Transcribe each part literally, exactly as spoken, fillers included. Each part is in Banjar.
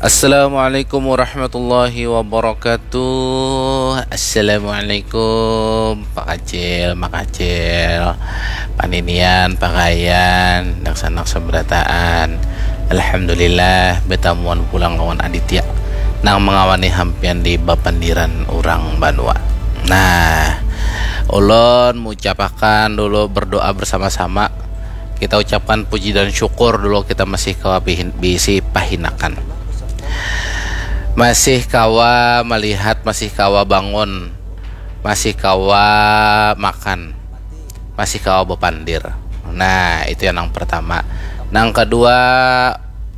Assalamualaikum warahmatullahi wabarakatuh. Assalamualaikum, Pak Kacil, Mak Kacil, paninian, pakayan, daksanak sabarataan. Alhamdulillah, batamuan pulang lawan Aditya nang mangawani hampian di bapandiran urang banua. Nah, ulun mucapakan dulu berdoa bersama-sama. Kita ucapkan puji dan syukur dulu kita masih kawa bihin- bisi pahinakan. Masih kawa malihat, masih kawa bangun, masih kawa makan, masih kawa bapandir. Nah, itu yang nang pertama. Nang kedua,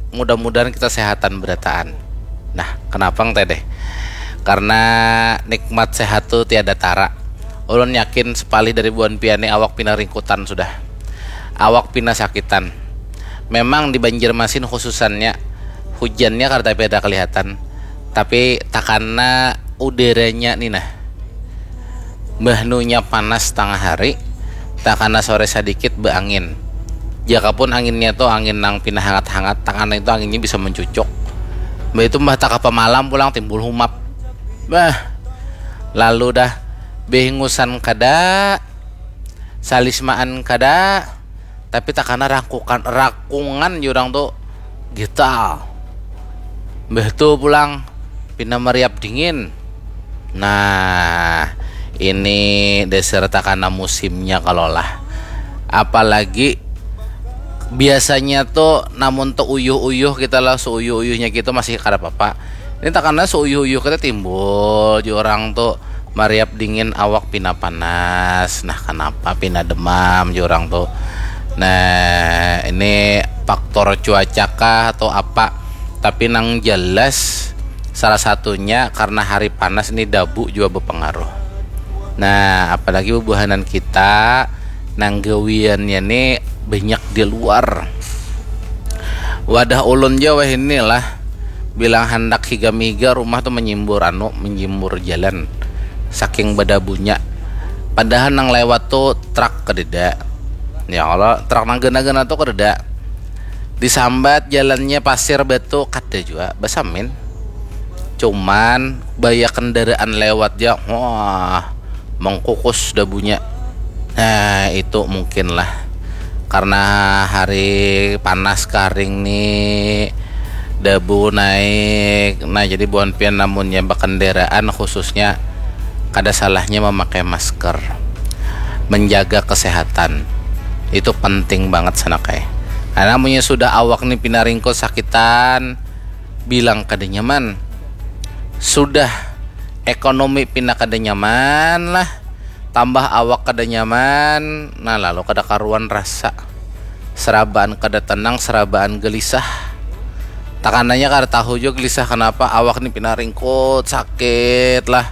mudah-mudahan kita sehatan berataan. Nah, kenapa teh deh? Karena nikmat sehat tu tiada tara. Ulun yakin sepalih dari buhan pian ni awak pina ringkutan sudah. Awak pina sakitan. Memang di Banjarmasin khususannya, hujannya kada tapi ada kelihatan. Tapi takana udaranya ni nah. Bahnunya panas tengah hari, takana sore sadikit beangin. Jaka pun anginnya tu angin nang pina hangat-hangat, takana itu anginnya bisa mencucuk. Mbah itu mbah takapa malam pulang timbul humap. Bah, lalu dah behingusan kada, salismaan kada, tapi takana rakukan rakungan jurang tu gital. Mbah tu pulang pina meriap dingin. Nah, ini dasar takana musimnya kalau lah. Apalagi biasanya tu namun tu uyuh-uyuh kita lah, seuyuh-uyuhnya kita masih kada apa-apa. Ini takana seuyuh-uyuh kita timbul jurang tu mariap dingin, awak pina panas. Nah, kenapa pina demam jurang tu? Nah, ini faktor cuaca kah atau apa? Tapi nang jelas salah satunya karena hari panas ni dabu juga berpengaruh. Nah, apalagi bubuhanan kita nang gawiannya ni banyak di luar. Wadah ulun ja wahini lah, bilang handak higa-mihiga rumah tu menyimbur anu, menyimbur jalan, saking badabunya. Padahal nang lewat tu truk kededa. Ya Allah, truk nang gana-gana tu kededa. Disambat jalannya pasir batu, kada jua basamin. Cuman baya kendaraan lewat ja, wah, mengkukus dabunya. Nah, itu mungkin lah karena hari panas karing ni, dabu naik. Nah, jadi buhan pian namunnya bakendaraan khususnya, kada salahnya memakai masker, menjaga kesehatan. Itu penting banget sanak ai. Nah, namunnya sudah awak ni pina ringkut sakitan, bilang kada nyaman. Sudah ekonomi pina kada nyaman lah, tambah awak kada nyaman, nah, lalu kada karuan rasa. Serabaan kada tenang, serabaan gelisah. Takananya kada tahu jua gelisah kenapa, awak ni pina ringkut, sakit lah.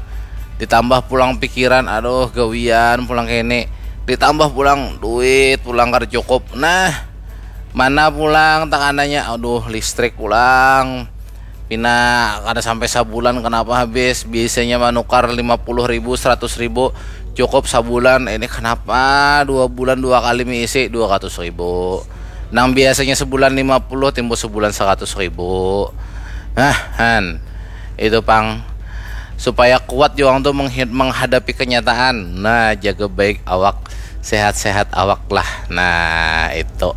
Ditambah pulang pikiran, aduh, gawian pulang kene. Ditambah pulang duit pulang kada cukup. Nah, mana pulang takananya, aduh, listrik pulang. Pina kada sampai sabulan, kenapa habis? Biasanya manukar lima puluh ribu, seratus ribu, cukup sabulan. Ini kenapa dua bulan dua kali miisi dua ratus ribu? Nang biasanya sebulan lima puluh, timbul sebulan seratus ribu. Nah, han. Itu pang, supaya kuat jua tu menghi- menghadapi kenyataan. Nah, jaga baik awak, sehat-sehat awak lah. Nah, itu.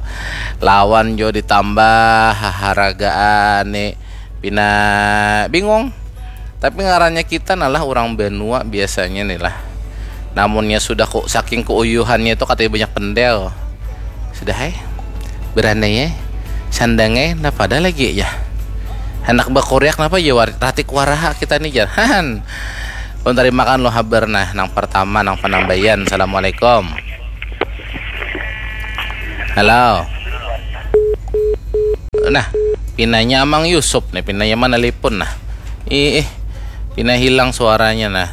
Lawan jua ditambah haharagaan ni pina bingung. Tapi ngarannya kita nalah orang banua biasanya ni lah. Namunnya sudah ku, saking keuyuhannya itu katanya banyak pendel. Sudah hai. Berandai ya. Sandang ya, napa ada lagi ya. Anak bakuriak napa ya, war- ratik waraha kita ni, jar. Han. Pun terima kan lo habar nah, nang pertama, nang penambaian. Assalamualaikum. Halo. Nah, pinanya Amang Yusuf nih, pinanya mana lipun nah. Ih, ih. Pina hilang suaranya nah.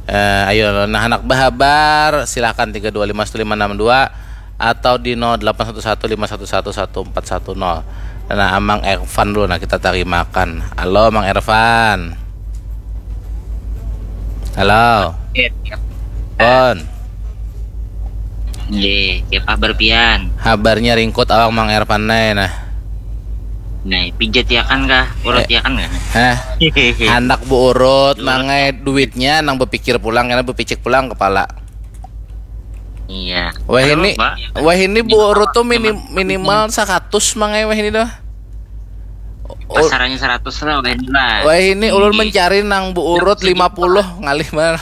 Eh, ayo, nah, anak bahabar, silakan tiga dua lima satu lima enam dua atau di nol delapan satu satu lima satu satu satu empat satu nol. Nah, Amang Ervan dulu nah, kita tarimakan. Halo, Mang Ervan. Halo. Iya. Pon. Nggih, siapa berpian? Habarnya ringkut awak Mang Ervan nai nah. Nah, pijat ya kan kah? Urut Eh. ya kan kah? Hah? Hehehe. Handak beurut Urut. Mangai duitnya nang bepikir pulang karena bepicik pulang kepala. Iya. Wah Aduh, ini, Pak. wah ini Ini beurut apa? tuh minim, Emang minimal seratus Mangai wah ini dah. Ul- Pasarannya seratus lah wah ini lah. Wah ini ulun Tinggi. Mencari nang beurut Sejam lima puluh ngalih mana?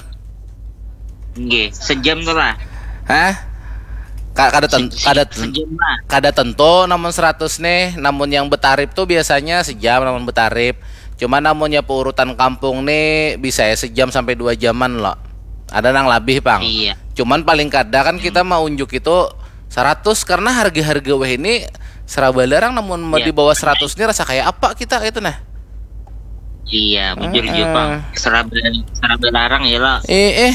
Nggih, sejam tuh lah. Hah? Ka- Kada ten, Se- kada se- ten, sejam lah. Kada tentu namun seratus nih, namun yang betarip tuh biasanya sejam namun betarip. Cuma namunnya peurutan kampung nih bisa ya sejam sampai dua jaman loh. Ada nang lebih pang. Iya. Cuman paling kada kan kita mau unjuk itu seratus karena harga-harga weh ini seraba larang namun mau Iya. Di bawah seratus ini rasa kayak apa kita itu nah. Iya, bujur Heeh. Jepang. Seraba seraba larang ya lah. Eh eh.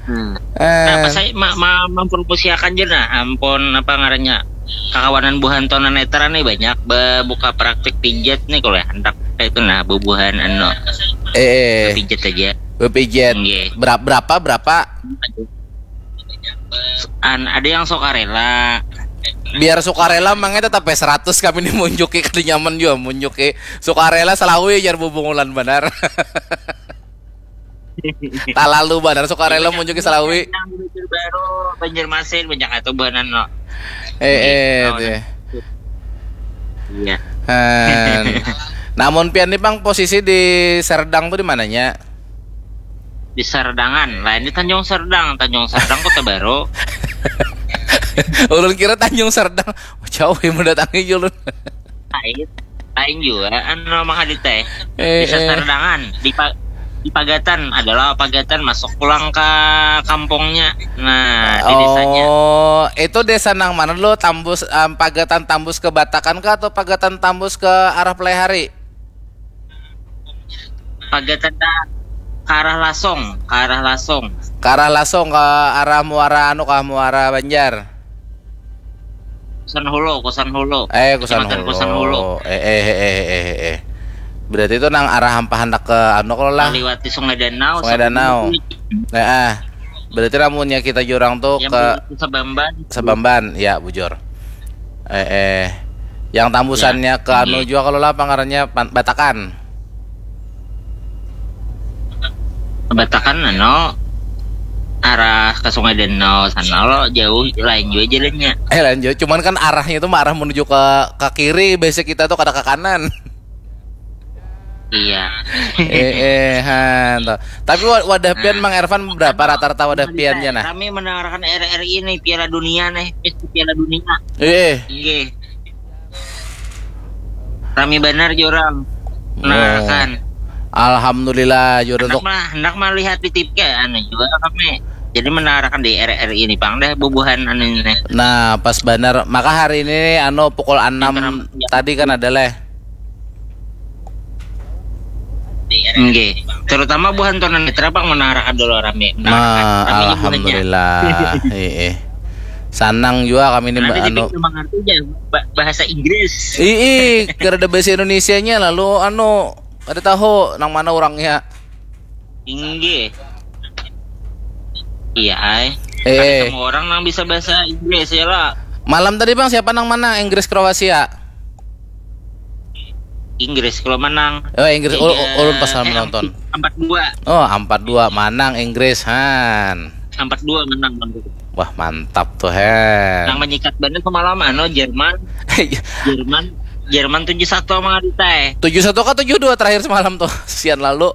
Hmm. Eh. Nah, pas saya ma, ma, mempromosiakan je nah, ampun apa ngarannya kakawanan buhan tunanetra nih banyak bebuka praktik pijat nih kalau hendak kayak itu nah bubuhan anu Eh, eh. Pijat aja. Bepijat. Nggih. Berapa berapa berapa? An ada yang sukarela. Biar sukarela mangnya tetap ya seratus kami ini munjuki kada nyaman juga munjuki sukarela selawi jar bubungulan benar. Talalu benar sukarela munjuki selawi. Yang Banjarbaru, Banjarmasin banyak itu buhanan lo. Eh eh Oh, deh. Iya. Han. Namun pian nih pang posisi di Serdang tuh di mananya? Di Serdangan, lain di Tanjung Serdang, Tanjung Serdang Kota Baru. Ulun kira Tanjung Serdang. Jauh yang mendatangi ulun. Lain, lain juga, anu mah hadit teh. Eh, Bisa eh. Serdangan, di, pa- di Pagatan, adalah Pagatan masuk pulang ke kampungnya. Nah, di desanya. Oh, itu desa nang mana dulu? Tambus em, Pagatan tambus ke Batakan kah atau Pagatan tambus ke arah Pelaihari? Pagatan dah ke arah Lasong, ke arah Lasong. Ke arah Lasong ke arah muara anu kah muara Banjar. Kusan Hulu, Kusan Hulu. Eh, Kusan Kecamatan Hulu. Kusan Hulu. Eh, eh, eh, eh, eh, eh. Berarti itu nang arah hampa handak ke anu kalau lah. Meliwati Sungai Danau. Sungai Danau. Nah, ah. Berarti lamunnya kita jurang tuh Yang ke meliwati Sabamban. Sabamban, ya bujur. Eh, eh. Yang tambusannya ke anu Iya. juga kalau lah pangarannya Pan- Batakan. Batakan anu arah ke Sungai Danau sana lo jauh lain juga jalannya. Eh lanjut, cuman kan arahnya itu mah arah menuju ke ke kiri, biasa kita tuh kada ke kanan. Iya. Eh, eh, han, tuh. Tapi wa- wadah pian Mang Ervan berapa rata-rata wadah pian ya nah? Kami mendengarkan R R I nih Piala Dunia nih, Piala Dunia. Eh, eh. Iya. Rami benar jurang. Nah, Oh. kan. Alhamdulillah jurang Hendak tuh. Mah, hendak melihat di T V kayak anu juga kami. Jadi mendengarkan di R R I ini pang dah bubuhan anu ini. Nah, pas benar. Maka hari ini anu pukul enam Interam- tadi kan ada leh. Nggih. Terutama buhan tunanetra pang mendengarkan dulu rami. Nah, Rami buhannya. Alhamdulillah. Heeh. Sanang juga kami ini Karena Mbak di anu. Sini mengerti ya ba- bahasa Inggris. Ii, kada ada bahasa Indonesianya lalu anu kada tahu nang mana orangnya. Inggih. Iya, ai. Eh. Kada semua orang nang bisa bahasa Inggris ya lah. Malam tadi Bang siapa nang mana? Inggris Kroasia. Inggris kalau menang. Oh, Inggris ul- ulun pas eh, menonton. Empat dua. Oh, empat dua manang Inggris han. Empat dua menang Bang. Wah, mantap tuh han. Nang menyikat banget semalam anu Jerman. Jerman Jerman tujuh satu sama Adita eh. Tujuh satu kah tujuh dua terakhir semalam tuh. Sian lalu.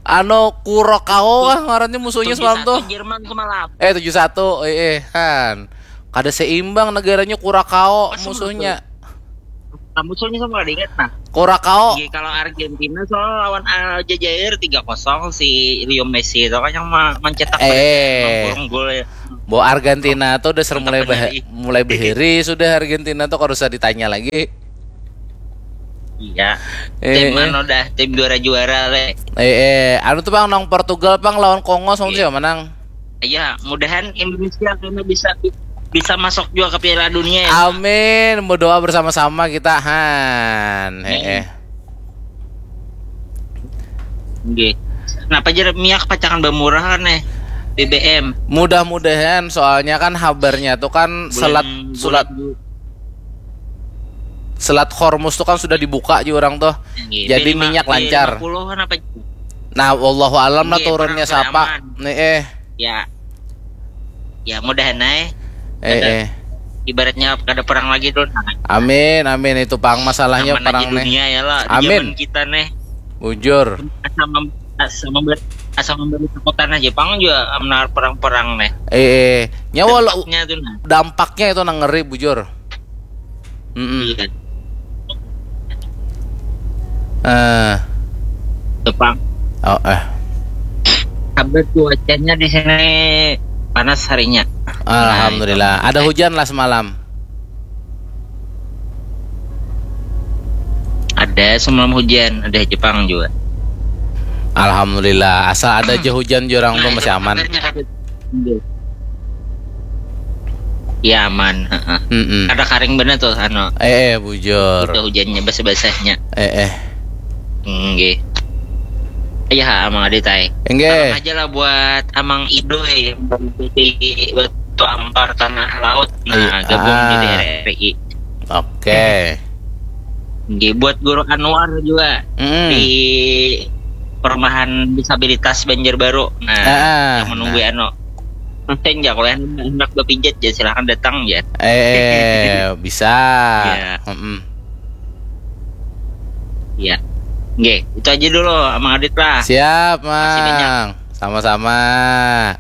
Anu Kurakao kah ngarannya musuhnya semalam tuh. Jerman semalam. Eh tujuh satu eh, eh han. Kada seimbang negaranya Kurakao Pas musuhnya. Kamu soalnya sama kada ingat nah. Kurakao. Iya, kalau Argentina soal lawan Aljazair tiga kosong si Leo Messi itu kan yang ma- mencetak Eh. gol ya. Bahwa Argentina tuh udah mulai Mantap bah- bener, mulai beheri sudah Argentina tuh kalau usah ditanya lagi. Iya. Eh, Tim eh. Anu dah, tim juara-juara le. Eh, eh, anu tuh bang nang Portugal bang lawan Kongo sama Iya. Siapa menang? Iya, mudahan Indonesia kena bisa bisa masuk juga ke Piala Dunia ya. Amin, berdoa bersama-sama kita han. Eh, eh. Nggih. Kenapa jadi minyak pacangan bamurah kan eh? B B M. Mudah-mudahan soalnya kan habarnya tuh kan selat Bulan- sulat bulan- Selat Hormuz tuh kan sudah dibuka juga orang tuh. Jadi minyak lancar. Nah, wallahu alam lah turunnya siapa. Nih eh. Ya. Ya mudahan eh. Eh, eh. Ibaratnya kada perang lagi tuh. Nah. Amin, amin, itu pang masalahnya. Aman perang nih. Dunia ya lah. Amin. Zaman kita nih. Bujur. Asal mem, asal memberi, asal memberi kekuatan aja pang juga menar perang-perang nih. Eh, eh. Nyawa dampaknya tuh nah. Dampaknya itu nang ngeri bujur. Mm -mm. Iya. Eh. Jepang. Oh, eh. Kabar cuacanya di sini panas harinya. Alhamdulillah. Nah, ada hujan lah semalam. Ada semalam hujan, ada Jepang juga. Alhamdulillah, asal ada aja hujan jurang tuh masih aman. Ya aman. Mm -mm. Ada karing bener tuh anu. Eh, eh bujur. Itu hujannya basah-basahnya. Eh, eh. Enggak. Ya amang Adit ay. Enggak. Salam aja lah buat amang Ido ya. Buat Ampar Tanah Laut. Nah, gabung ah. Di R R I. Oke. Okay. Nggih, buat Guru Anwar juga mm. Di perumahan disabilitas Banjarbaru. Nah, ah, yang menunggu nah. Anu. Mungkin ya kalau yang hendak berpijat ya silahkan datang ya. Eh, bisa. Ya. Mm -mm. Ya. Nggih, itu aja dulu Mang Adit lah. Siap, Mang. Sama-sama.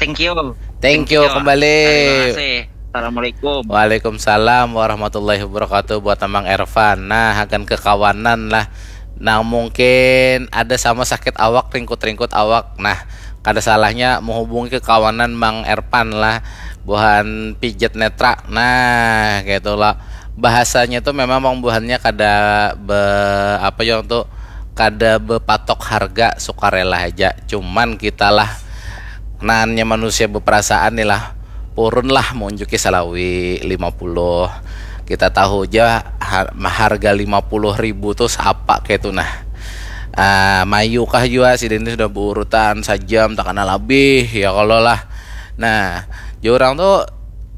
Thank you. Thank you, Thank you. Kembali. Terima kasih. Assalamualaikum. Waalaikumsalam warahmatullahi wabarakatuh buat Amang Ervan. Nah, akan kekawanan lah. Nah, mungkin ada sama sakit awak, ringkut-ringkut awak. Nah, kada salahnya menghubungi kekawanan Mang Ervan lah. Buhan pijat netra. Nah, gitu lah. Bahasanya tuh memang Mang buhannya kada be, apa yang tuh kada bepatok harga, sukarela aja. Cuman kita lah, naannya manusia beperasaan nih lah. Purun lah menunjuki salawi lima puluh. Kita tahu aja harga lima puluh ribu tuh siapa kayak itu nah. Uh, mayu kah juga si Dini sudah berurutan sajam tak kena lebih ya kalau lah. Nah, jurang tuh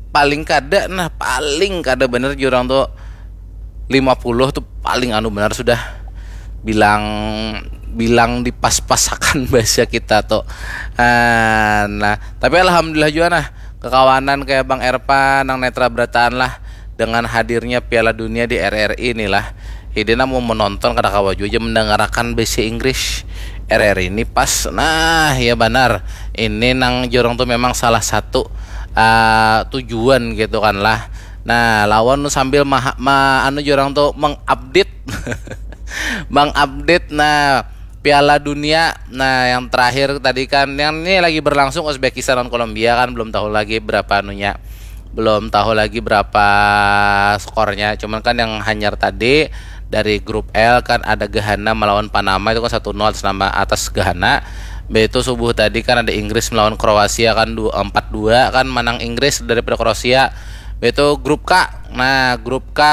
paling kada nah, paling kada bener jurang tuh lima puluh tuh paling anu benar sudah bilang bilang dipas-pasakan bahasa kita tuh. Uh, nah, tapi alhamdulillah juga nah kekawanan kayak Bang Erpa nang netra berataan lah dengan hadirnya Piala Dunia di R R I inilah. Hidina mau menonton kada kawa juga mendengarkan bahasa Inggris. R R I ini pas. Nah, ya benar. Ini nang jurang tuh memang salah satu uh, tujuan gitu kan lah. Nah, lawan sambil ma, ma anu jurang tuh mengupdate mengupdate nah Piala Dunia. Nah, yang terakhir tadi kan yang ini lagi berlangsung Uzbekistan dan Kolombia kan belum tahu lagi berapa anunya. Belum tahu lagi berapa skornya. Cuman kan yang hanyar tadi dari grup L kan ada Ghana melawan Panama itu kan satu nol atas nama atas Ghana. Begitu subuh tadi kan ada Inggris melawan Kroasia kan empat dua kan menang Inggris daripada Kroasia. Begitu grup K. Nah, grup K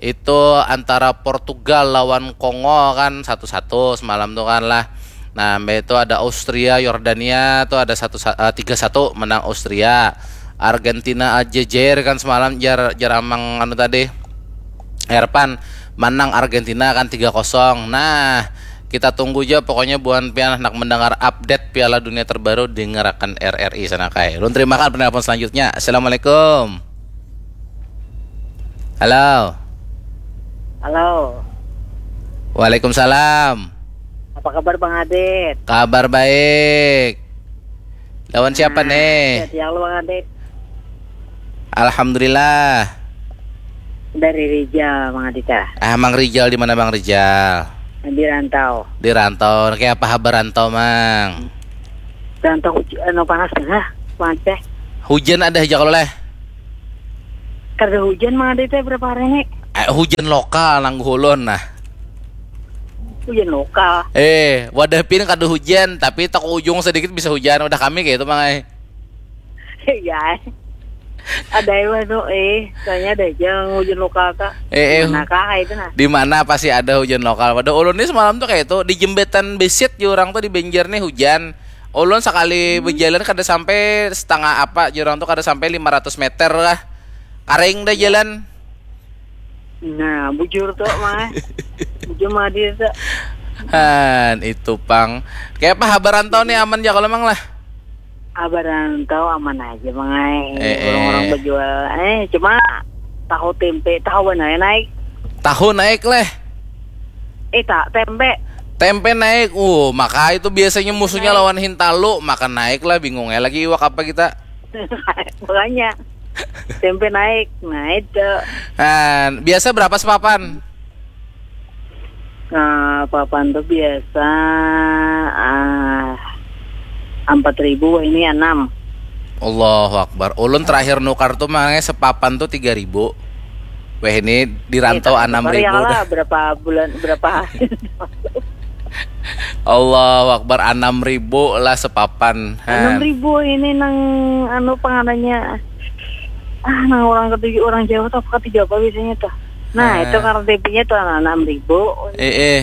itu antara Portugal lawan Kongo kan satu satu semalam tuh kan lah. Nah, mbak itu ada Austria, Yordania tuh ada satu eh, tiga satu menang Austria. Argentina aja jer kan semalam jar jar amang anu tadi. Erpan menang Argentina kan tiga kosong. Nah, kita tunggu aja pokoknya buan pian nak mendengar update Piala Dunia terbaru dengarkan R R I sana kai. Lun terima kasih penelpon selanjutnya. Assalamualaikum. Halo. Halo. Waalaikumsalam. Apa kabar Bang Adit? Kabar baik. Lawan siapa nah, nih? Siang lu Bang Adit. Alhamdulillah. Dari Rijal Bang Adit ya. Ah, Mang Rijal di mana Bang Rijal? Di rantau. Di rantau. Kayak apa kabar rantau, Mang? Rantau hujan, anu panas nah, panas teh. Hujan ada aja kalau leh. Kada hujan mah ada teh berapa hari ini? Eh, hujan lokal nang hulun nah. Hujan lokal. Eh, wadah pin kada hujan, tapi tak ujung sedikit bisa hujan. Udah kami kayak itu mang eh. Iya. Ada yang tuh eh, soalnya ada aja hujan lokal kak. Eh, eh. Mana kak itu nah? Di mana pasti ada hujan lokal. Pada ulun ini semalam tuh kayak itu di jembatan besit di orang tuh di Banjar nih hujan. Ulun sekali hmm. Berjalan kada sampai setengah apa, jurang tuh kada sampai lima ratus meter lah. Karing dah iya. Jalan. Nah, bujur tuh, Mang. Bujur, Mang Adi tuh. Han, itu pang. Kayak apa habar rantau nih, aman ja kalau mang lah? Habar rantau aman aja, Mang ai. Eh, eh. Orang-orang berjual. Eh, cuma tahu tempe, tahu benar naik. Tahu naik leh. Eh, tak tempe. Tempe naik. Uh, maka itu biasanya musuhnya Naik. Lawan hintalu, maka naik lah, bingungnya lagi iwak apa kita. Makanya tempe naik. Nah, itu. Han, biasa berapa sepapan? Nah, papan tuh biasa ah, empat ribu, ini enam. Allahu Akbar. Ulun terakhir nukar tuh mangnya sepapan tuh tiga ribu. Weh, ini di rantau Eh, enam tukar ribu ya lah, dah. Berapa bulan, berapa? Allahu Akbar, enam ribu lah sepapan. Enam Han. Ribu ini nang anu panganannya. Ah, nang orang ketujuh, orang Jawa tuh apa ketujuh apa biasanya tuh? Nah, Ah. Itu karena tempe-nya tuh enam ribu. Eh, eh.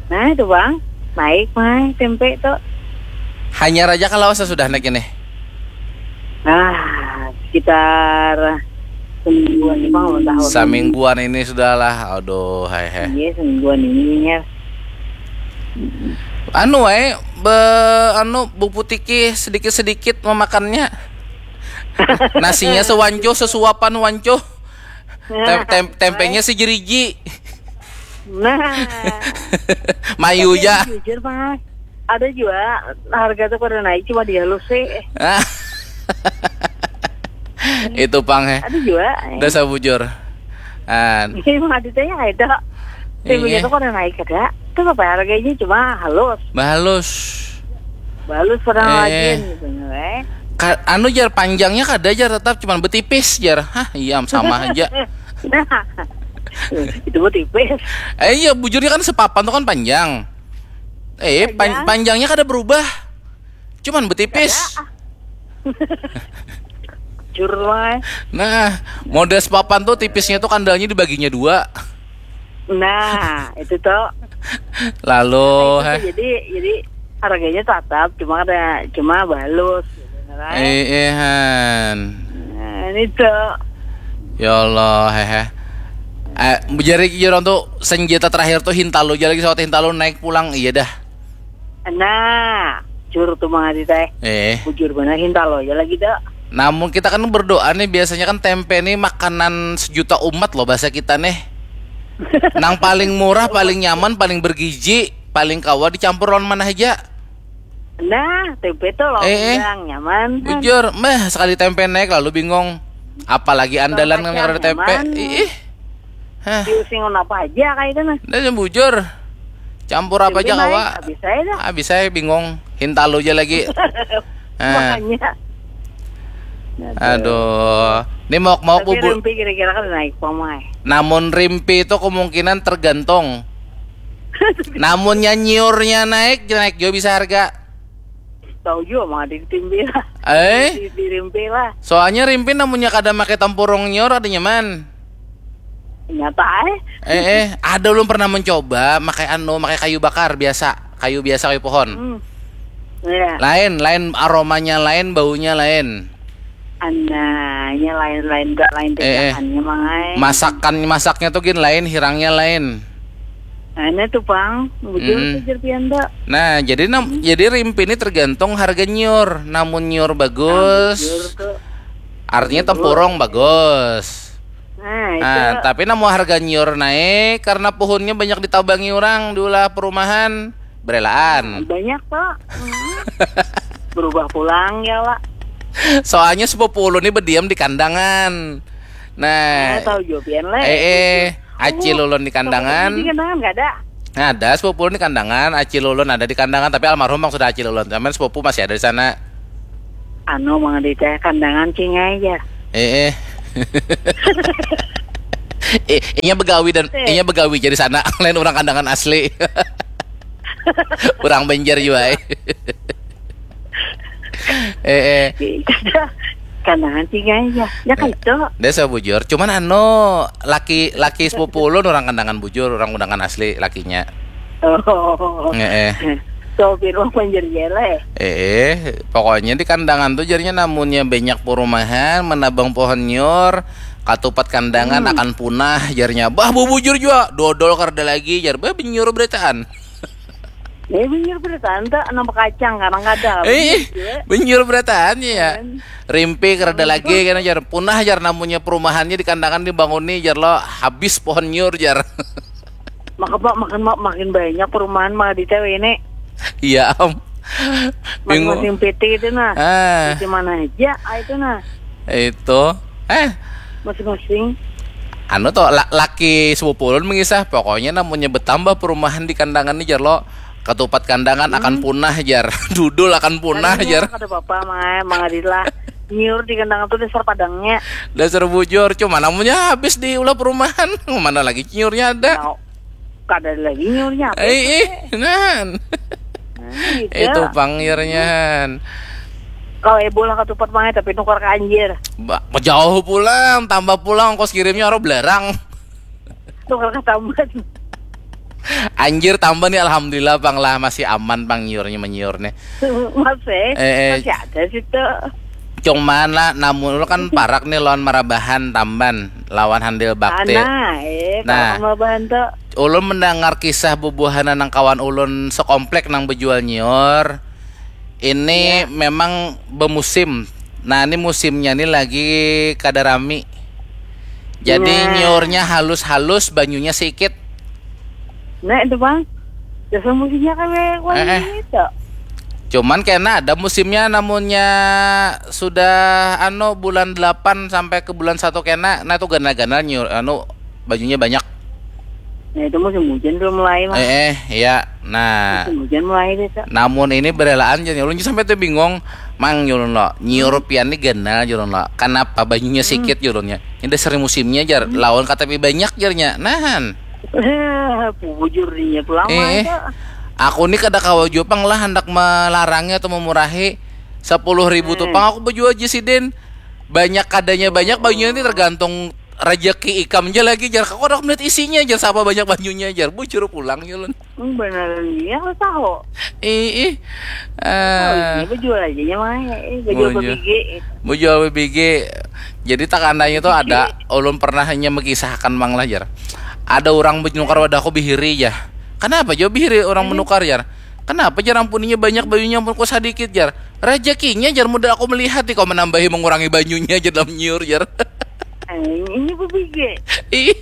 Nah, itu, Bang. Naik, Mang, tempe tuh. Hanyar aja kalau sesudah naik ini. Nah, sekitar semingguan nih, Bang, ulang tahun. Samingguan ini sudahlah. Aduh, hai hai. Iya, semingguan ini ya. Anu eh be anu buputiki sedikit-sedikit memakannya. Nasinya sewancuh, sesuapan wancuh. Tem- tem- tempenya sejeriji. Nah, Mayu tapi ja. Jujur, Bang, ada juga harga tuh pada naik, cuma dihalus sih. Itu pang eh. Ada juga. Dasar bujur. An. Ini emang aditanya ada. Tempe Iya. Itu pada naik ada. Itu apa harganya, cuma halus. Bahalus. Halus pada Eh. Lagi gitu, eh. Ka- anu jar, panjangnya kada jar, tetap cuman betipis jar. Hah, iya sama aja. Nah, itu mah tipis. Eh iya, bujurnya kan sepapan tuh kan panjang. Eh pan- Panjang. Panjangnya kada berubah. Cuman betipis. Jujur, Bang. Nah, model sepapan tuh tipisnya tuh kandalnya dibaginya dua. Nah, itu tuh. Lalu Itu heh. Jadi jadi harganya tetap, cuma ada, cuma halus gitu, kan? Eh, eh, han. Nah, ini tuh. Ya Allah, hehe. Eh, jari jurang tuh senjata terakhir tuh hintalu aja lagi, sawat hintalu naik pulang, iya dah. Nah, jujur tuh, Mang Adi teh. Eh, Bujur benar, hintalu aja lagi dah. Namun kita kan berdoa nih, biasanya kan tempe nih makanan sejuta umat loh bahasa kita nih. Nang paling murah, paling nyaman, paling bergizi, paling kawa dicampur lawan mana aja. Nah, tempe tuh loh, Eh, eh. Bang, nyaman. Bujur, meh sekali tempe naik lalu bingung. Apalagi andalan Baca nang ada tempe. nyaman. Ih. Hah, Diusing apa aja kayak itu nah. Dan bujur. Campur apa Tempe aja naik, kawa. Habis saya dah. Habis saya bingung. Hintalu aja lagi. Nah, Makanya. Aduh. Ini mau mau Tapi bubur. Rimpi kira-kira kan naik pamai. Namun rimpi itu kemungkinan tergantung. Namunnya nyiurnya naik, naik juga bisa harga. Tahu juga, Mang Adi, di Rimpi lah. Eh, Di, di Rimpi lah. Soalnya rimpi namunnya kada pakai tempurung nyiur ada nyaman. Nyata eh. Eh, eh, ada ulun pernah mencoba pakai anu, pakai kayu bakar biasa, kayu biasa, kayu pohon. Hmm. Iya. Lain, lain aromanya, lain baunya, lain. Ananya lain-lain gak lain Eh, eh. Tindakannya, Mang ai. Masakan masaknya tuh gin lain, hirangnya lain. Nah, ini tuh, Bang, bujur Mm-mm. tuh, jer pian tuh. Nah, jadi nam- jadi rimpi ini tergantung harga nyiur. Namun nyiur bagus, Bujur tuh. artinya tempurung bagus. Nah, itu. Nah, tapi namun harga nyiur naik karena pohonnya banyak ditabangi orang diulah perumahan, berelaan. Banyak tuh. Hmm. Berubah pulang ya, Pak. Soalnya sepupu ulun ini berdiam di Kandangan. Nah, Nah, tahu juga pian, Le. eh, eh, acil ulun di Kandangan. Di Kandangan nggak ada. Nah, ada sepupu ulun di Kandangan, acil ulun ada di Kandangan, tapi almarhum bang sudah acil ulun. Cuman sepupu masih ada di sana. Anu, Mang Adi teh, Kandangan cing aja. Eh, eh. Eh, inya begawi dan Eh. inya begawi jadi sana, lain orang Kandangan asli. Orang Banjar juga, eh. Eh, eh. Kandangan cing aja. Ya kan itu. Dia saya bujur, cuman anu, laki laki sepupu ulun orang Kandangan bujur, orang Kandangan asli lakinya. Oh. Eh, eh. Sopir mah Banjar jele. Eh, eh, pokoknya di Kandangan tuh jarinya namunnya banyak perumahan, menabang pohon nyiur, Katupat kandangan akan punah, jarnya. Bah, bubujur jua. Dodol kada lagi, jar. Bah, banyiur berataan. Ya, banyiur berataan, tak nampak kacang, kadang kada. Eh, banyiur berataan ya. Rimpi kada lagi, kan, jar. Punah, jar, namunnya perumahannya di kandangan dibanguni, jar, lo. Habis pohon nyiur, jar. Maka, Pak, makin, makin banyak perumahan, mah, di T W ini. Iya, am. Masing-masing P T itu, nah. Ah. Di mana aja, ah, itu, nah. Itu. Eh, Masing-masing. Anu to, la- laki sepupu ulun mengisah, pokoknya namunnya betambah perumahan di kandangan ni, jar, lo, katupat kandangan akan punah, jar. Dudul akan punah, jar. Kada apa-apa, Mang, Mang Adit lah. Nyiur di kandangan tuh dasar padangnya. Dasar bujur, cuma namunnya habis diulah perumahan, mana lagi nyiurnya ada. Nah, kada lagi nyiurnya apa? Eh, eh, nan. Nah, gitu. Itu pang nyiurnya, han. Kalau ibu lah katupat, Mang, tapi nukar ke anjir. Ba- jauh pulang, tambah pulang ongkos kirimnya orang belarang. Nukar ke tamban. Anjir, tambah nih, alhamdulillah, pang, lah, masih aman, pang, nyiurnya, menyiur nih. Masih, Eh, eh. Masih ada situ. Cuman lah, namun lu kan parak nih lawan marabahan tamban, lawan handil bakti. Nah, eh, Nah. Kalau marabahan tuh. Ulun mendengar kisah bubuhan nang kawan ulun sekomplek nang bejual nyiur. Ini memang bemusim. Nah, ini musimnya nih lagi kada rami. Jadi, Nah. Nyiurnya halus-halus, banyunya sikit. Nah, itu, Bang. Dasar musimnya kan kayak Eh, eh. Gitu. Cuman kena ada musimnya, namunnya sudah, anu, bulan delapan sampai ke bulan satu kena, nah, itu ganal-ganal nyiur, anu, banyunya banyak. Nah, itu musim hujan belum mulai, Mang. Eh, eh, iya. Nah, Musim hujan mulai deh, Kak. Namun ini berelaan, jar ulun sampai tuh bingung, Mang, jar ulun lo, nyiur pian ni ganal, jar ulun lo, kenapa banyunya sikit, jar ulunnya? Ini dasar musimnya, jar, lawan katapi banyak, jarnya. Nahan. Bujur dinya pulang, Eh, Kak. Aku ni kada kawa jua pang lah handak melarangnya atau memurahi. Sepuluh ribu tu pang aku bejual, jar sidin. Banyak kadanya banyak, banyunya ni tergantung rejeki ikam ja lagi, jar. Aku kada melihat isinya, jar, siapa banyak banyunya, jar. Bujur pulang, jar ulun. Hmm, beneran iya, lu tahu. Ih, ih. Ah, Ini bejual aja nya, Mang. Eh, bejual Bujur. Bebigi. Bejual bebigi. Jadi, takandanya tuh ada, ulun pernah hanya mengisahkan, Mang, lah, jar. Ada orang menukar wadahku bihiri, ya. Kenapa jua bihiri orang menukar, jar? Kenapa, jar, ampuninya banyak, banyunya ampun ku sadikit, jar? Rezekinya, jar, mudah aku melihat nih, kau menambahi, mengurangi banyunya, jar, dalam nyiur, jar. Eh, ini Bebigi. Ih,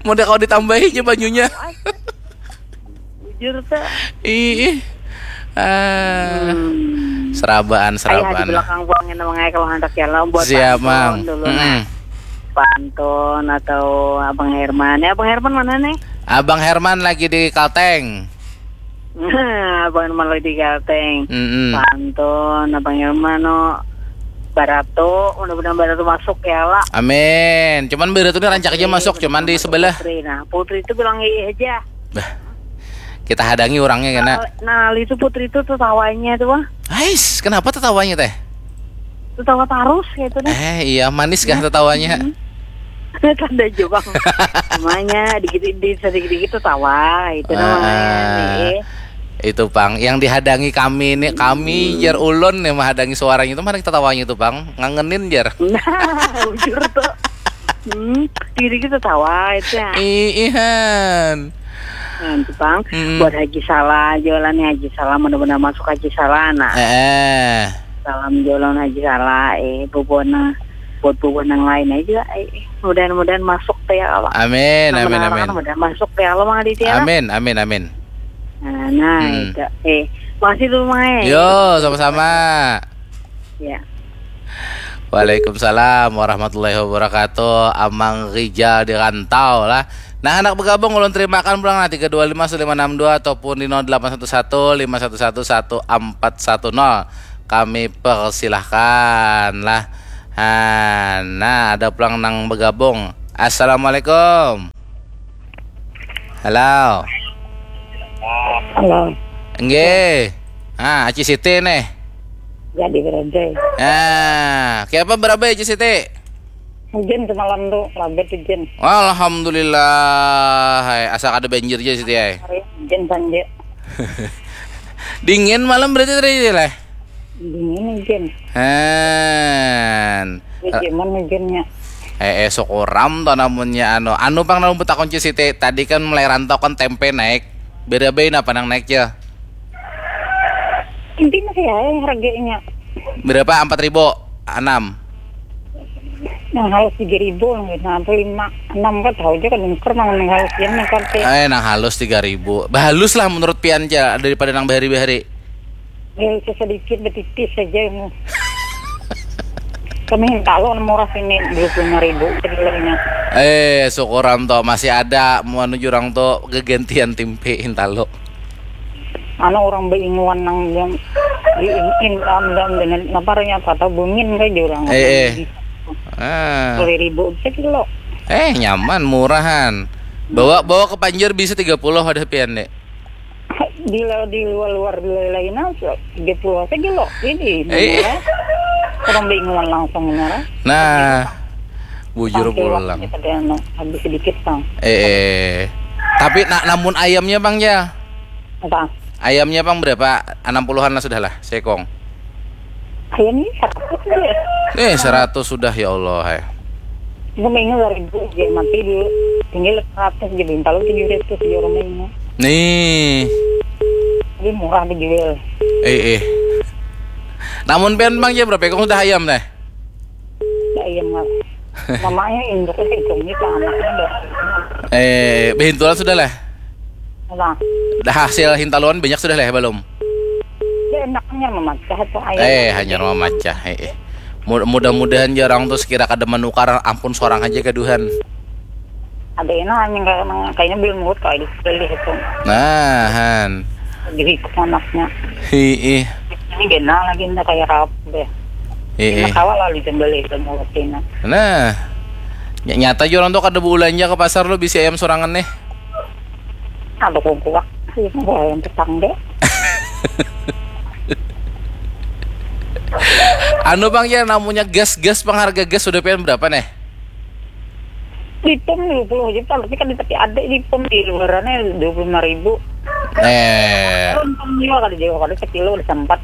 mudah kau ditambahi aja banyunya. Bujur tuh. Ih, ih. Ah, Hmm. serabaan, Ayah di serabaan. Belakang pulang ini, Mang, kalau handak jalan buat Siap, pantun Mang. Dulu, Mm-mm. Nah. Pantun atau Abang Herman. Ya, Abang Herman mana nih? Abang Herman lagi di Kalteng. Abang Herman lagi di Kalteng. Mm-mm. Pantun, Abang Herman, no. Baratu, mudah-mudahan Baratu masuk ya lah. Amin. Cuman Baratu ini rancak aja masuk, cuman di sebelah. Putri, nah, Putri itu bilang iya aja. Bah. Kita hadangi orangnya kena. Nah, itu Putri itu tertawanya tuh, Bang. Ais, kenapa tertawanya teh? Tertawa terus gitu deh. Eh, iya, manis kah tertawanya? Tanda aja, Bang. Namanya dikit-dikit, sedikit-dikit tertawa, itu namanya. Ah, Nih. Itu pang yang dihadangi kami ini, kami jar ulun nih menghadangi suaranya itu, mana tertawanya itu, pang, ngangenin, jar. Nah, bujur tuh. Hmm, dikit-dikit tertawa itu ya. Iihan. Nah, itu, Bang. Mm-mm. Buat Haji Salah, jualannya Haji Salah, mudah-mudahan masuk Haji Salah, nah. Eh, Salam jualan Haji Salah, eh, bubuhan, buat bubuhan yang lain aja, eh, mudah-mudahan masuk teh ya Allah. Amin, Nah, amin, menarang amin. Mudah-mudahan masuk teh ya Allah, Mang Aditya. Amin, amin, amin. Nah, nah, Hmm. itu. Eh, makasih dulu, Mang, eh. Yo, sama-sama. Ya. Waalaikumsalam warahmatullahi wabarakatuh. Amang Rijal di Rantau lah. Nah, anak bergabung ulun terimakan pulang, nah, tiga dua lima satu lima enam dua ataupun di nol delapan satu satu lima satu satu satu empat satu nol. Kami persilahkan lah. Ha, nah, ada pulang nang bergabung. Assalamualaikum. Halo. Halo. Nggih. Ah, Aci Siti nih. Jadi berhenti. Ah, kiapa berabai, Aci Siti? Hujan semalam tuh, labet hujan. Alhamdulillah. Hai, asa kada banjir aja, Siti, hai. Hari hujan saja. Dingin malam berarti tadi lah. Dingin hujan. Han. Hujan hujannya. Eh, eh, syukuram to namunnya anu. Anu pang namun betakun ci Siti, tadi kan mulai rantau kan tempe naik. Berabai napa nang naik ya? Inti masih ya harganya. Berapa? Empat ribu? Enam. Nang halus tiga ribu, nang itu apa lima, enam kan tahu aja kan nungker nang nang halus yang nang karte. Eh, nang halus tiga ribu. Bahalus lah menurut pian ja daripada nang bahari-bahari. Ya, sedikit betipis saja ini. Kami kalau murah sini dua puluh lima ribu kedelainya. Eh, syukuran to masih ada mau jurang to gegantian timpe hintalo. Anu orang beinguan nang yang di in in am dam dengan apa nya kata bungin kayak jurang. Eh, eh. Ah. Sepuluh ribu sekilo. Eh, nyaman, murahan. Bawa bawa ke Panjur bisa tiga puluh ada pian dek. Di di luar luar di lain aja tiga puluh sekilo ini. Eh. Orang beinguan langsung ngarang. Nah, bujur pulang. Habis sedikit bang. Eh, eh. Tapi nak namun ayamnya bang ya? Apa? Ayamnya bang berapa? Enam puluhan lah sudah lah, sekong. Ayamnya seratus deh. Eh, seratus sudah ya Allah. Eh. Gue mainnya dua ribu aja mati dulu. Tinggal seratus aja bintang tujuh ratus aja orang mainnya. Nih. Jadi murah dijual. Eh, eh. Namun pian bang ya berapa ekong sudah ayam deh? Ayam mas. Mamanya induknya hidungnya ke anaknya deh. Eh, behintulan sudah lah. Nah, Dah hasil hintaluan banyak sudah lah belum? Dia enaknya memacah tuh ayam. Eh, hanya memacah. Eh, eh. Mud- mudah-mudahan jarang tuh sekira kada menukar ampun seorang aja gaduhan. Ada enak anjing kayak kayaknya belum mulut kayak dibeli itu. Nah, han. Jadi ikut anaknya. Hiih. Ini genang lagi ndak kayak rap deh. Hiih. Enak awal lah dijembeli itu mulut ini. Nah. Ny- nyata juga orang tuh kada belanja ke pasar lo bisi ayam sorangan nih. Ada kongkuak. Iya, ayam petang deh. Anu bang ya namanya gas gas pengharga gas sudah pian berapa nih? Di pom dua puluh aja pak, tapi kan tapi ada di pom di luarannya dua puluh lima ribu. Eh, Pom juga kada jauh kada sekilo udah sempat.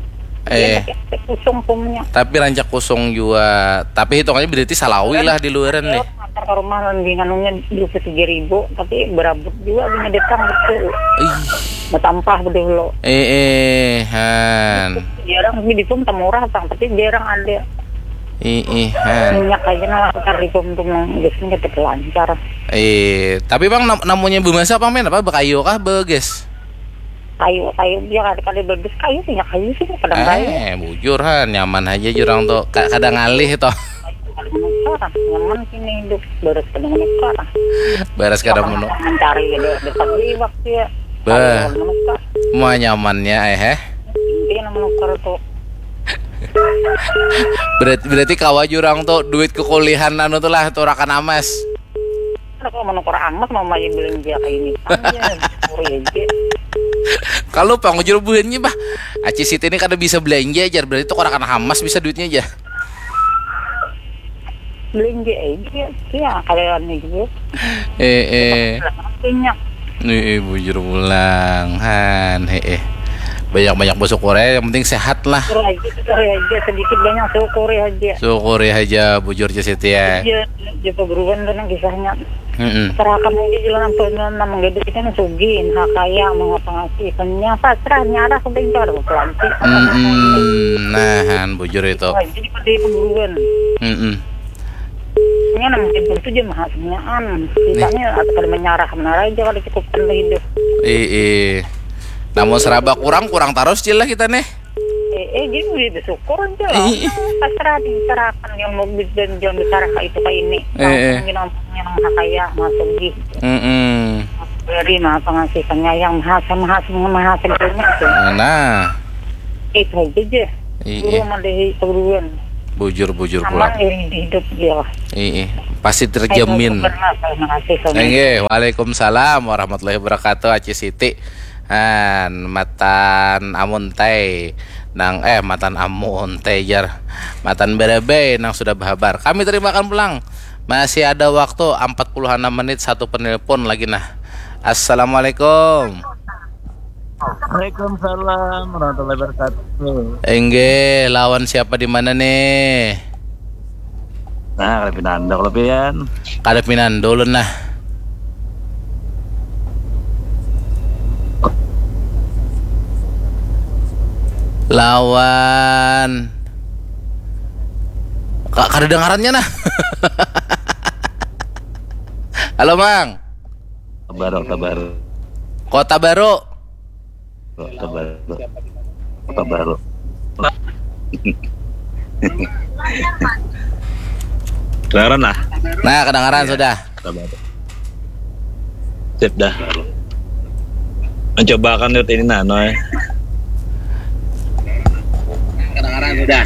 Eh. Iya, tapi kusung pomnya. Tapi rancak kusung juga. Tapi hitungannya berarti salawi lah di luaran nih. Antar ke rumah lagi nganunya dua puluh tiga ribu, tapi berabut juga punya datang betul. Ih, Bertampah betul lo. eh, eh, han. Jarang sih di pom murah tang, tapi jarang ada. Eh, eh, han. Minyak aja nah lancar di pom tuh nang biasanya tetap lancar. Eh, tapi bang nam- namanya bemasak apa men apa bekayu kah begas? Kayu kayu dia kada kada bagus kayu sih ya kayu sih kadang kayu. Eh, bujur han, nyaman aja jurang tuh. Ka- kada ngalih tuh. Kada menukar, nyaman sini hidup, beres kada menukar. Beres kada menu. Mencari ada ada pagi waktu ya. Bah. Kada menukar. Mau nyamannya eh, eh. Intinya menukar tuh. Berarti, berarti kawa jurang tuh duit kekuliahan anu tuh lah turakan amas. Ada kalau menukar amat mau main belanja kayak ini. Anjir, syukuri aja. Kalau pangujur buhannya bah, Aci Siti ini kada bisa belanja aja, berarti turakan hamas bisa duitnya aja. Belanja aja, ya kalian juga. Eh, eh. Banyak. Eh, eh, bujur pulang, han, eh, eh. Banyak-banyak bersyukur ya, yang penting sehat lah. Syukur aja, syukur aja, sedikit banyak syukur aja. Syukuri aja, bujur Ci Siti ya. Iya, dia peguruan kan kisahnya. Mm-mm. Serahkan aja jalan apa nama menggaduh kita nih sugi, nah kaya, mau apa ngasih, ikannya pasrah, nyarah, udah itu ada pelantik. Mm-mm. Nah, han, bujur itu. Wah, jadi pada peguruan. Mm-mm. Ini nama mungkin tentu aja maha semuaan. Kitanya atau pada menyarah, menarai aja kalau cukup kan hidup. Ih, ih. Namun seraba kurang, kurang terus Cil lah kita nih. Eh, eh, jadi udah bersyukur aja lah. Iya. Pasrah diserahkan yang mau dan jangan bicara kayak itu kayak ini. Eh, eh. Langsung gini ngomongnya nang maha kaya, maha sugi. Mm-mm. Beri maha pengasih penyayang, maha maha maha segalanya itu. Nah, Itu aja aja. Iya. Guru madahi keguruan. Bujur-bujur Aman pulang. Iri di hidup dia lah. Ih, ih. Pasti terjamin. Terima kasih. Nggih, waalaikumsalam warahmatullahi wabarakatuh, Aci Siti. Han, matan amun tai nang eh matan amun tai jar. Matan berebei nang sudah berhabar. Kami terimakan pulang. Masih ada waktu empat puluh enam menit satu penelpon lagi nah. Assalamualaikum. Waalaikumsalam warahmatullahi wabarakatuh. Enggih, lawan siapa di mana nih? Nah, kada pinando kalau pian. Kada pinando ulun nah. Lawan Ka- kada dengarannya nah. Halo Mang. Kota baru, kota baru. Kota Baru. Kota baru. Kota baru. Kedengaran lah. Nah, kedengaran sudah. Kota baru. Sip dah. Mencoba akan lihat ini nah, Noy. Kedengaran sudah.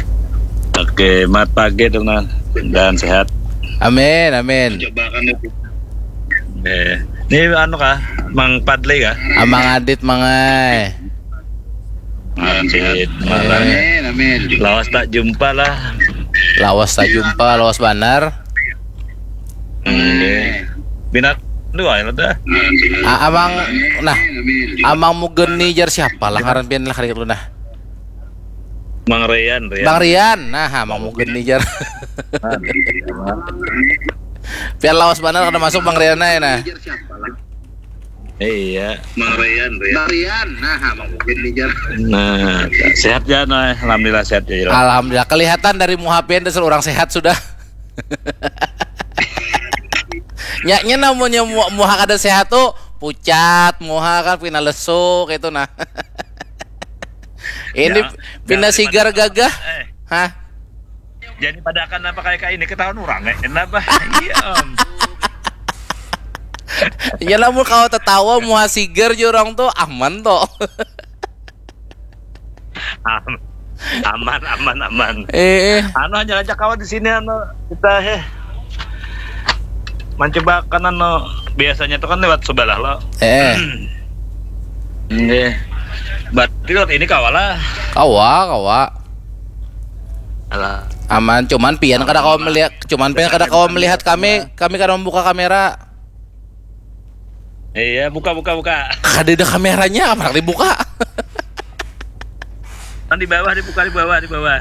Oke, mat pagi tuh nah. Dan sehat. Amin, amin. Eh, ini anu kah? Mang Padli kah? Amang Adit mangai. Adit, malah. Eh, Lawas tak jumpa lah. Lawas tak jumpa, lawas banar. Oke. Binat dua ya dah. Ah, amang nah, amang Mugeni jar siapa lah ngaran pian lah kali nah. Bang Rian, Rian. Bang Rian, nah, Bang Mugen nih jar. Pian lawas banar kada masuk Bang Rian aja nah. Iya. Bang Rian, Rian. Bang Rian, nah, Bang Mugen nih jar. Nah, sehat ya, nah, alhamdulillah sehat ya. Alhamdulillah, kelihatan dari muha pian dasar orang sehat sudah. Nyaknya namunnya muha kada sehat tuh pucat, muha kan pina lesu gitu nah. Ini ya, pina sigar gagah. Eh. Hah? Jadi pada akan apa kayak ini ketahuan orang eh. Kenapa? Iya. Ya namun kalau tertawa muha sigar jurang tuh aman tuh. aman aman aman eh, eh. Anu hanya aja kawan di sini anu kita he eh. Mencoba kan anu biasanya tuh kan lewat sebelah lo eh Nggih. Berarti lewat ini kawa lah. Kawa, kawa. Alah. Aman, cuman pian kada kawa melihat, cuman pian kada kawa melihat kami, kami kada membuka kamera. Iya, buka buka buka. Kada ada kameranya, apa dibuka? Kan di bawah dibuka di bawah di bawah.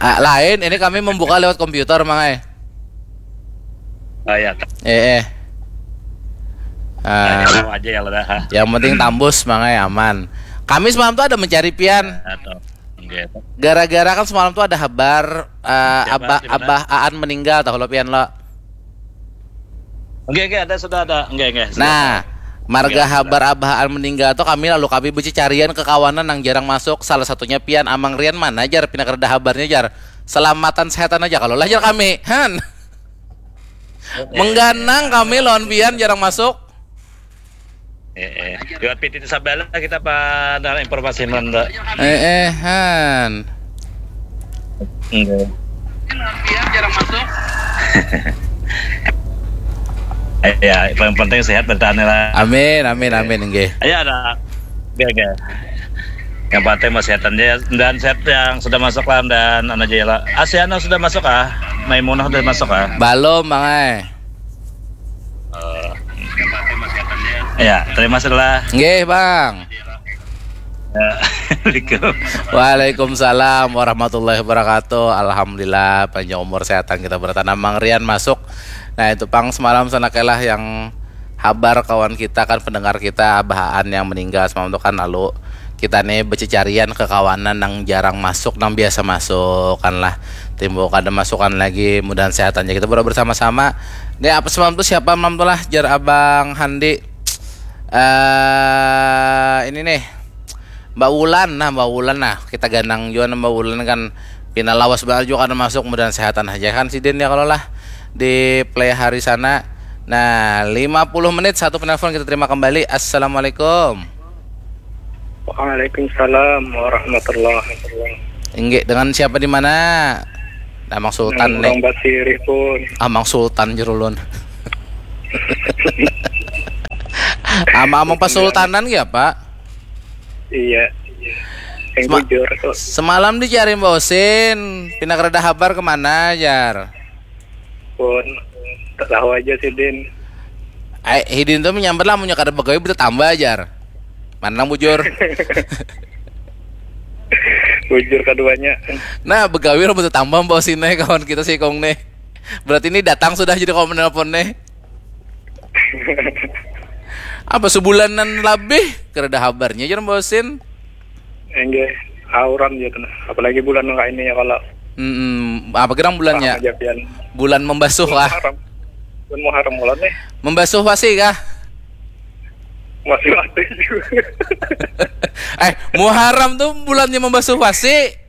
Ah, lain, ini kami membuka lewat komputer, Mang ai. Oh ya. Eh, eh. Uh, aja ya lah. Yang penting tambus, Mang ai, aman. Kami semalam tuh ada mencari pian. Gara-gara kan semalam tuh ada habar uh, abah abah Aan meninggal tahu lo pian lo. Oke, oke, ada sudah ada. Oke, oke. Nah, marga ya, habar abahaan meninggal tuh kami lalu kami becicarian ke kawanan yang jarang masuk. Salah satunya pian Amang Rian mana jar pina kereda habarnya jar. Selamatan setan aja kalau lah jar kami. Han. Eh, eh, Mengganang eh, kami lawan pian jarang masuk. Eh, eh. Lewat P T T Sabala kita pada informasi nonton. Eh, eh, han. Enggak. Iya, paling penting sehat bertahan lah. Amin, amin, amin, nggih. Iya ada. Oke, oke. Yang penting masih sehat aja dan sehat yang sudah masuk lah dan anak aja lah. Asiana sudah masuk ah. Maimunah sudah masuk ah. Belum, Mang ai. Ya, terima kasih lah. Nggih, Bang. Ya. Waalaikumsalam warahmatullahi wabarakatuh. Alhamdulillah panjang umur sehatan kita bertanam Mang Rian masuk. Nah itu pang semalam sana kelah yang habar kawan kita kan pendengar kita bahaan yang meninggal semalam itu kan lalu kita nih becicarian ke kawanan yang jarang masuk yang biasa masuk kan lah timbul kada masukan lagi mudahan sehat aja kita berdoa bersama-sama. Nih apa semalam tuh siapa malam tuh lah jar abang Handi eh ini nih Mbak Wulan nah Mbak Wulan nah kita ganang juga nah, Mbak Wulan kan pina lawas banget juga kada masuk mudahan sehatan aja kan sidin ya kalau lah di play hari sana. Nah, lima puluh menit satu penelpon kita terima kembali. Assalamualaikum. Waalaikumsalam warahmatullahi wabarakatuh. Inggih, dengan siapa di mana? Nah, Mang Sultan nih. Orang Basiri pun. Ah, Mang Sultan jerulun. Ama amang pasultanan ya, Pak? Iya. Yang Sema bujur tuh. Semalam dicari Mbak Osin, pindah kereda habar kemana, Jar? Pun tahu aja sih Din. Ai, hidin tuh menyambat lah, munya kada begawi bisa tambah ajar. Mana nang bujur? Bujur keduanya. Nah, begawi lah bisa tambah mbak sini kawan kita si Kong nih. Berarti ini datang sudah jadi kawa menelpon nih. Apa sebulanan lebih? Kada ada habarnya jar Mbak Osin. Enggak, auran gitu nah. Apalagi bulan kayak ini ya kalau Hmm, apa gerang bulannya? Aja pian. Bulan membasuh lah. Haram. Bulan Muharram kalau nih Membasuh pasti kah? Masih mati juga. Eh, Muharram tuh bulannya membasuh pasti.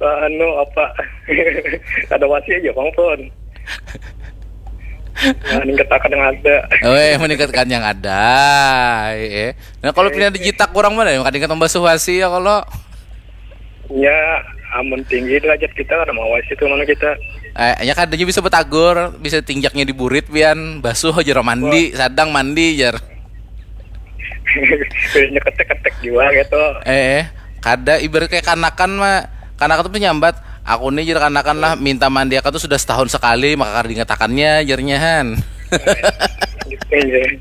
Anu apa? Ada wasi aja bang pun. Nah, ningkatakan yang ada. Weh, meningkatkan yang ada. Eh, eh. Nah, kalau pindah digitak kurang mana ya? Kadang membasuh pasti ya kalau Ya, amun tinggi derajat kita ada mau wasi itu mana kita. Eh, ya kadanya bisa betagur, bisa tinjaknya di burit pian, basuh aja mandi, sadang mandi jar. Nyeketek-ketek juga gitu. Eh, kada ibarat kayak kanakan mah. Kanakan tuh nyambat, aku nih jar kanakan lah minta mandi aku tuh sudah setahun sekali maka kada diingatakannya jarnya han. Iya.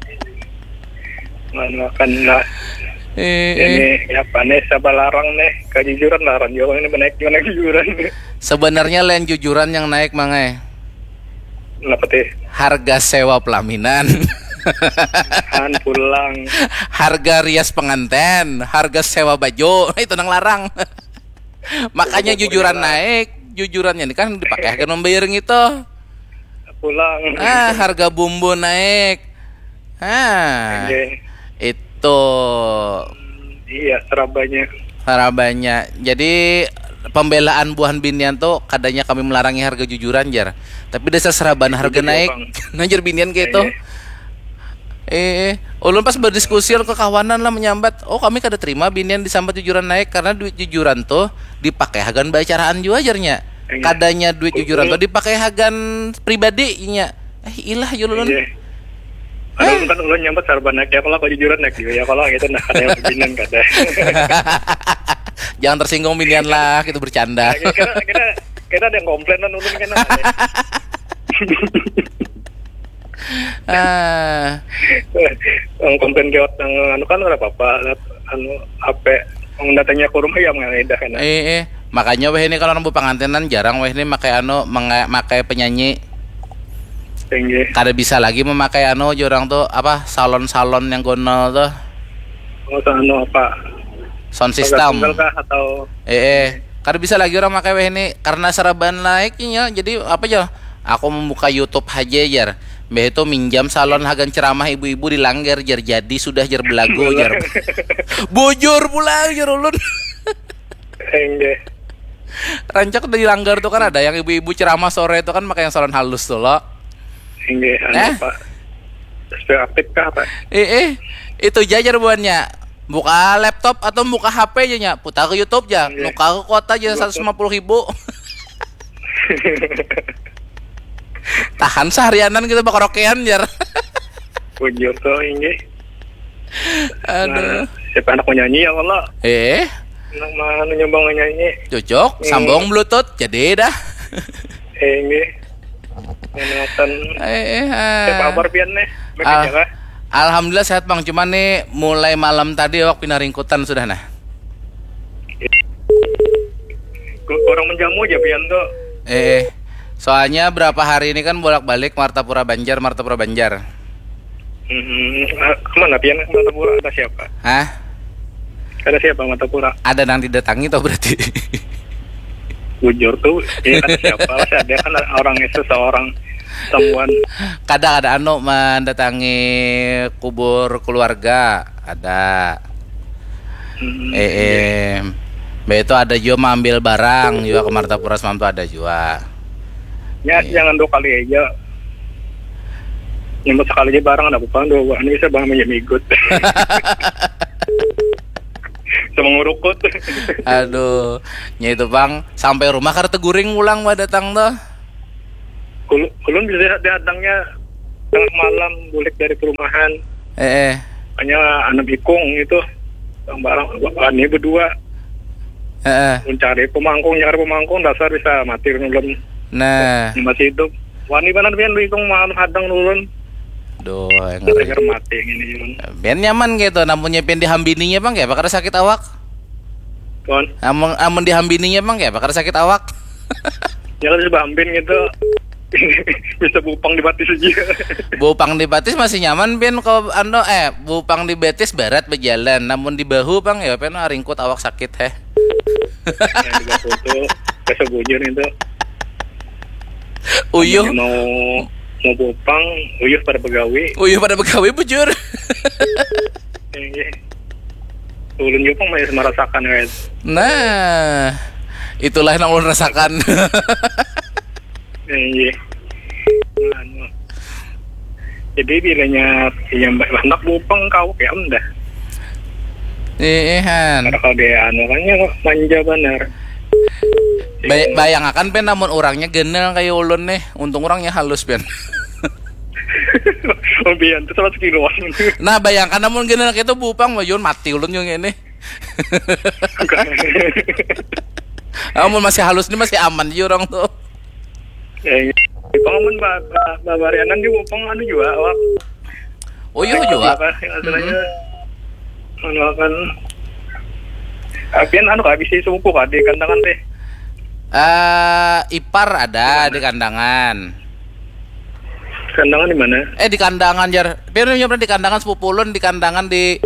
Mana kan lah. Eh, eh. Ini ya panes apa larang nih? Kejujuran larang juga ini menaik juga naik kejujuran. Sebenarnya lain jujuran yang naik mangai. Kenapa teh? Harga sewa pelaminan. Han pulang. Harga rias penganten, harga sewa baju, itu nang larang. Makanya jujuran naik, jujurannya ini kan dipakai kan membayar gitu. Pulang. Ah, harga bumbu naik. Ah, Oke. Itu Iya, serabanya. Sarabanya. Jadi pembelaan buhan binian tuh kadanya kami melarangi harga jujuran jar. Tapi dasar seraban harga Jujur, naik. Bang. Nah jar binian kayak itu. Iya. Eh, eh. Ulun pas berdiskusi ke kawanan lah menyambat, oh kami kada terima binian disambat jujuran naik karena duit jujuran tuh dipakai hagan baacaraan jua jarnya. Iya. Kadanya duit jujuran tuh dipakai hagan pribadi inya. Eh ilah jul ulun. Iya. Ada kan ulun nyambat serba naik ya kalau kejujuran naik juga ya kalau gitu nah ada yang beginian kada. Jangan tersinggung binian lah, kita bercanda. Kira kira kira ada yang komplain kan ulun kan. Ah, Yang komplain lewat yang anu kan ada apa-apa lewat anu apa yang datangnya ke rumah ya mengedah kan. Eh, eh. Makanya weh ini kalau nang bepangantinan jarang weh ini makai anu menge- makai penyanyi. Tinggi. Kada bisa lagi memakai anu jar orang tuh apa salon-salon yang gonol tuh. Oh anu apa? Sound system. Single kah atau Eh, eh. Kada bisa lagi orang makai weh ini karena saraban naiknya. Jadi apa aja? Aku membuka YouTube aja jar. Mbah itu minjam salon hagan ceramah ibu-ibu di langgar jar jadi sudah jar belagu jar. Bujur pulang jar ulun. Tinggi. Rancak di langgar tuh kan ada yang ibu-ibu ceramah sore itu kan pakai yang salon halus tuh lo. Tinggi anu Eh? Apa? Spek aktif kah apa? Eh, eh. Itu jajar buannya. Buka laptop atau buka H P aja nya. Putar ke YouTube aja. Iya. Nukar ke kuota aja seratus lima puluh ribu. Tahan seharianan gitu bakaraokean jar. Bujur tuh tinggi. Aduh. Siapa anak mau nyanyi ya Allah? Eh, Anak mana nyoba mau nyanyi? Cocok, Hmm. Sambung bluetooth jadi dah. Tinggi. Menonton. Eh, eh, ah. Siapa kabar pian nih? Baik Al- aja kah? Alhamdulillah sehat bang, cuman nih mulai malam tadi awak pina ringkutan sudah nah. Ku- Kurang menjamu aja pian tuh. Eh, soalnya berapa hari ini kan bolak-balik Martapura Banjar, Martapura Banjar. Hmm, ah, kemana pian Martapura ada siapa? Hah? Ada siapa Martapura? Ada nang didatangi toh berarti. Bujur tuh, ya ada siapa? Masih ada kan orang itu seorang someone. Kada ada anu mendatangi kubur keluarga, ada. Hmm, Eh, eh. Mbak itu ada juga mengambil barang juga ke Martapura semalam tuh ada juga. Ya, jangan dua kali aja. Nyambut sekali aja barang ada apa dua buah ini bisa bang menjadi ikut. Sama ngurukut. Aduh, nya itu bang sampai rumah kada teguring pulang bah datang tuh. Ulun bisa datangnya tengah malam bulik dari perumahan. Eh, eh. Hanya anak ikung itu. Yang barang ini berdua. Eh, eh. Mencari pemangkung, nyari pemangkung dasar bisa mati ulun. Nah, Masih hidup. Wani banar pian bikung mau hadang ulun. Duh, ngeri. Dengar mati ini ulun. Ben nyaman gitu, namunnya ben dihambininya bang kayak bakal sakit awak. Kon. Amun amun dihambininya bang kayak bakal sakit awak. Jalan sudah hampir gitu. Bisa bupang di batis aja. Bupang di batis masih nyaman, Pin. Kau anu, eh, bupang di batis barat berjalan, namun di bahu pang ya, Pin, ah, ringkut, awak sakit, heh. Nah, di bahu tuh, bahasa bujur itu. Uyuh. Mau, mau bupang, uyuh pada begawi. Uyuh pada begawi, bujur. Iya. Ulun juga pang masih merasakan, guys. Nah, itulah yang ulun rasakan. Iya. Anu. Jadi bilanya, iya, mbak, handak bupang kau kayak dah. Iya, Han. Karena kalau dia anu kan ya manja benar. Bay- bayangakan, Pin, namun orangnya ganal kayak ulun nih. Untung orangnya halus, Pin. Oh, bian tuh salah sekiloan. Nah, bayangkan namun ganal kayak itu bupang, wah, yun mati ulun yang ini. Amun masih halus nih, masih aman ji orang tuh. Ya, iya. Di pang amun ba- ba- babarianan di bupang anu juga, awak. Oh, iya juga. Apa sih istilahnya? Anu akan. Apian anu kah, bisi sepupu kah di Kandangan teh? Eh, ipar ada di Kandangan. Kandangan di mana? Eh, di Kandangan, jar. Pian nya pernah di Kandangan, sepupu ulun di Kandangan, di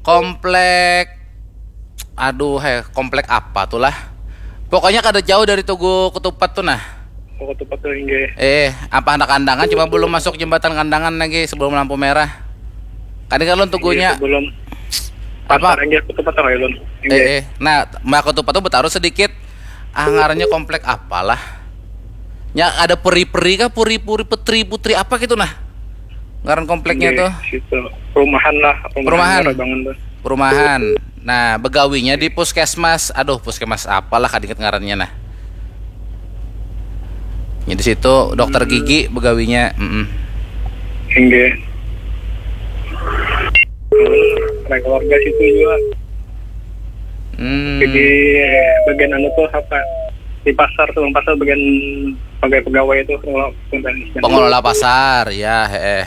komplek, aduh, heh, komplek apa tuh lah? Pokoknya kada jauh dari Tugu Ketupat tuh, nah. Oh, Ketupat tuh, inggih. Eh, apa anak Kandangan, cuma belum masuk jembatan Kandangan lagi sebelum lampu merah. Kan kalau Tugunya. Inggih, sebelum apa? Pasar, inggih, Ketupat tuh, Hailun. Inggih. Eh, eh. Nah, Mbak Ketupat tuh bertaruh sedikit. Ah, ngarannya komplek apalah? Nya ada peri-peri kah, puri-puri, petri, putri apa gitu, nah? Ngaran kompleknya. Inggih, tuh. Situ. Perumahan lah, perumahan. Perumahan. Baru bangun tuh. Perumahan. Nah, begawinya di puskesmas. Aduh, puskesmas apalah, kada ingat ngarannya, nah. Ya, di situ dokter gigi begawinya. Mm-mm. Inggih. Ada keluarga situ juga. Hmm. Jadi bagian anu tuh apa? Di pasar tuh, pasar bagian pegawai-pegawai itu, pengelola, pengelola pasar, ya, heeh.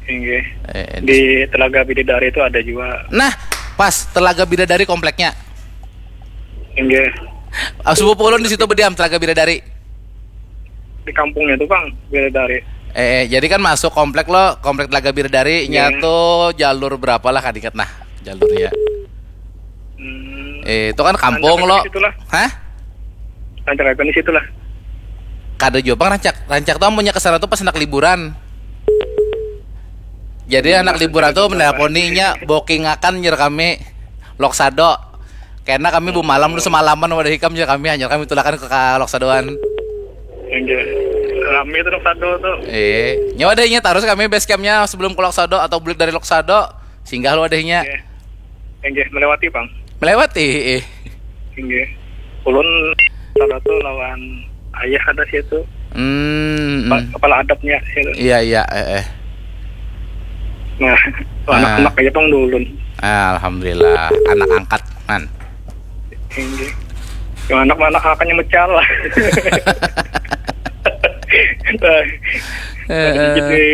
Inggih. Eh, di Telaga Bidadari itu ada juga. Nah, pas Telaga Bidadari kompleknya. Inggih. Ah, sepupu ulun di situ berdiam, Telaga Bidadari. Di kampungnya tuh, Bang, Bidadari. Eh, jadi kan masuk komplek lo, komplek Telaga Bidadari, nya tuh jalur berapa lah, kada ingat nah, jalurnya. Hmm. Eh, itu kan kampung lo. Rancak di situ lah. Hah? Rancak apa di situ lah? Kada jua pang rancak. Rancak tuh amunnya ke sana tuh pas anak liburan. Jadi anak liburan tuh menelponinya, booking akan, jar kami, Loksado. Karena kami bumalam tuh semalaman wadah ikam, jar kami, hanyar kami tulakan ke ka-, Loksadoan. Inggih. Rame tuh Loksado tuh. Eh, nya wadahnya tarus kami base campnya sebelum ke Loksado atau bulik dari Loksado, singgah lo wadahnya. Inggih. Inggih, melewati, Bang. Melewati, eh. Inggih. Ulun salah tuh lawan ayah ada situ. Hmm, hmm. Kepala adabnya situ. Iya, iya, eh, eh. Nah, anak-anak aja pang dulun. Ah, alhamdulillah, anak angkat, man. Inggih. Yang anak-anak akannya mecal lah. Nah, eh, eh. Di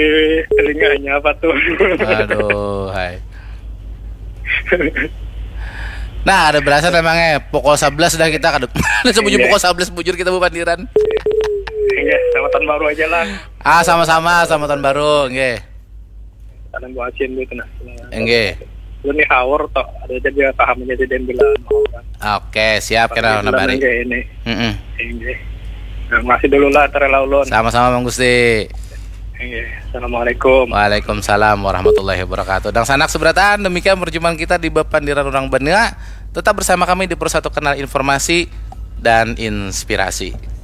telinganya apa tuh? Aduh, hai. Nah, ada berasa memangnya pukul sebelas dah kita kada. Sebujur pukul sebelas bujur kita bapandiran. Iya, selamat tahun baru aja lah. Ah, sama-sama, selamat tahun baru, nggih. Salam buat Asin gitu nah. Nggih. Lu nih haur toh, ada aja dia paham aja dia bilang haur. Oke, siap, kita nambari. Nggih ini. Heeh. Nggih. Nah, makasih dulu lah, Tarela Ulun. Sama-sama, Mang Gusti. Inggih. Assalamualaikum. Waalaikumsalam warahmatullahi wabarakatuh. Dan sanak seberatan, demikian perjumpaan kita di Bapandiran Urang Banua. Tetap bersama kami di Persatu Kanal Informasi dan Inspirasi.